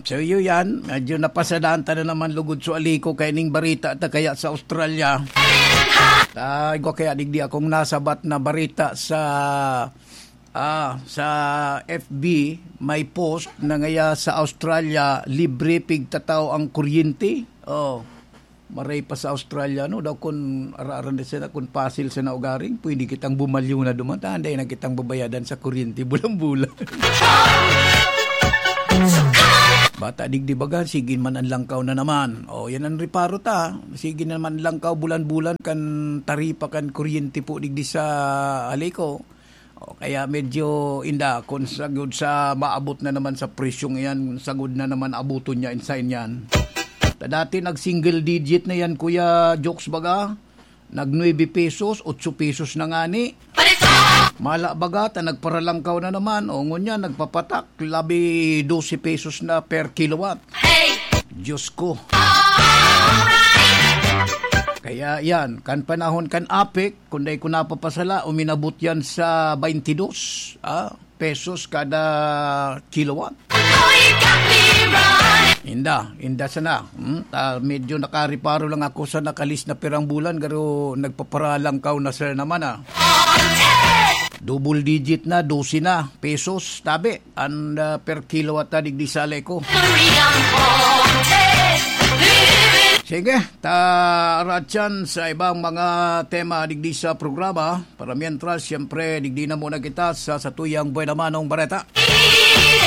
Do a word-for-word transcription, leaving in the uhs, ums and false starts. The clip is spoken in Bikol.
So, iyo yan. Medyo napasadaan ta na naman lugod sa aliko kay ning barita ta kaya sa Australia. Ta, igwa kaya digdi akong nasabat na barita sa, ah, sa F B, may post na ngaya sa Australia, libre pigtatao ang kuryente. Oh, maray pa sa Australia, no? Daw kun ara-aran na sana, kun pasil sana ugaring, pwede kitang bumalyo na duman. Ta, anday na kitang babayadan sa kuryente bulan-bulan. Bata digdi baga, sige man an langkaw na naman. O, yan an reparo ta. Sige naman langkaw bulan-bulan kan taripa kan kuryente po digdi sa Aleco. O, kaya medyo inda, kung sagud sa maabot na naman sa presyong iyan, sagud na naman abuton niya, insa yan. Ta dati nag-single digit na yan, Kuya Jokes baga. Nag nuebe pesos, otso pesos na ngani. Mala baga ta nagparalangkaw na naman. O, ngunyan, nagpapatak, labi dose pesos na per kilowatt. Diyos ko. Kaya yan, kan panahon kan APEC, kung dai ko napapasala, uminabot yan sa baintidos, ah, pesos kada kilowatt. Inda, inda sana. Hmm? Ah, medyo nakareparo lang ako sa nakalis na pirang bulan, pero nagpaparalangkaw na sir naman, ah. Double digit na, dose na pesos, tabi, an, ah, per kilowatt na digdi sa Aleco. Sige, ta, Ratchan, sa ibang mga tema digdi sa programa. Para mientras, siyempre, digdi na muna kita sa satuyang buena manong bareta.